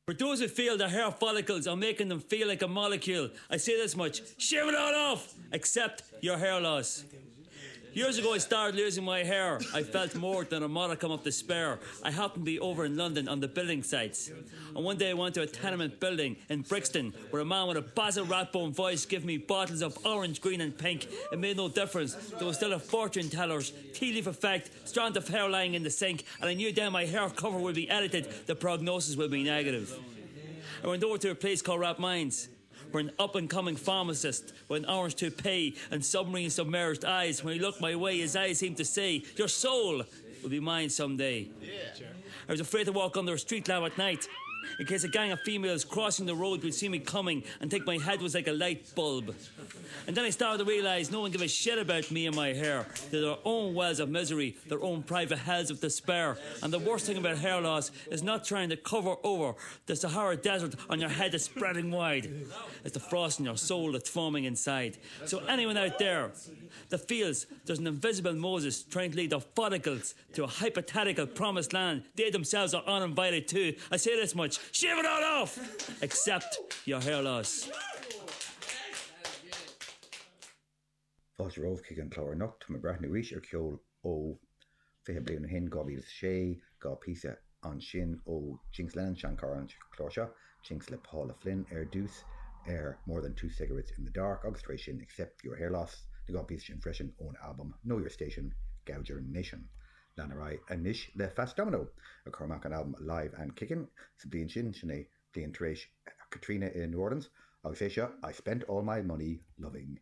For those who feel their hair follicles are making them feel like a molecule, I say this much, shave it all off! Except your hair loss. Years ago I started losing my hair. I felt more than a modicum of despair. I happened to be over in London on the building sites. And one day I went to a tenement building in Brixton where a man with a Basil Rathbone voice gave me bottles of orange, green and pink. It made no difference. There was still a fortune teller's tea leaf effect, strand of hair lying in the sink, and I knew then my hair cover would be edited, the prognosis would be negative. I went over to a place called Rap Mines where an up-and-coming pharmacist with an orange toupee and submarine submerged eyes, when he looked my way, his eyes seemed to say, Your soul will be mine someday. Yeah. I was afraid to walk under a street lamp at night in case a gang of females crossing the road would see me coming and think my head was like a light bulb. And then I started to realize no one gave a shit about me and my hair. They're their own wells of misery, their own private hells of despair. And the worst thing about hair loss is not trying to cover over the Sahara Desert on your head is spreading wide. It's the frost in your soul that's forming inside. So anyone out there that feels there's an invisible Moses trying to lead the follicles to a hypothetical promised land they themselves are uninvited to, I say this much, shave it all off! Except your hair loss. Fáilte romhaibh chuig an chlár anocht. Tá mé ag breathnú arís ar cheol ó 20 bliain ó shin, 2006, 2 phíosa ansin ó Jinx Lennon, seanchara an chláir seo, Jinx le Paula Flynn ar dtús ar More Than Two Cigarettes in the Dark agus tar éis sin Except Your Hair Loss, na 2 phíosa sin freisin ón albam Know Your Station, Gouger Nation. Lean ar aghaidh anois le Fats Domino a chuir amach an albam Live and Kickin' sa bhliain sin, sin é bliain tar éis Katrina i New Orleans, agus é seo I Spent All My Money Loving.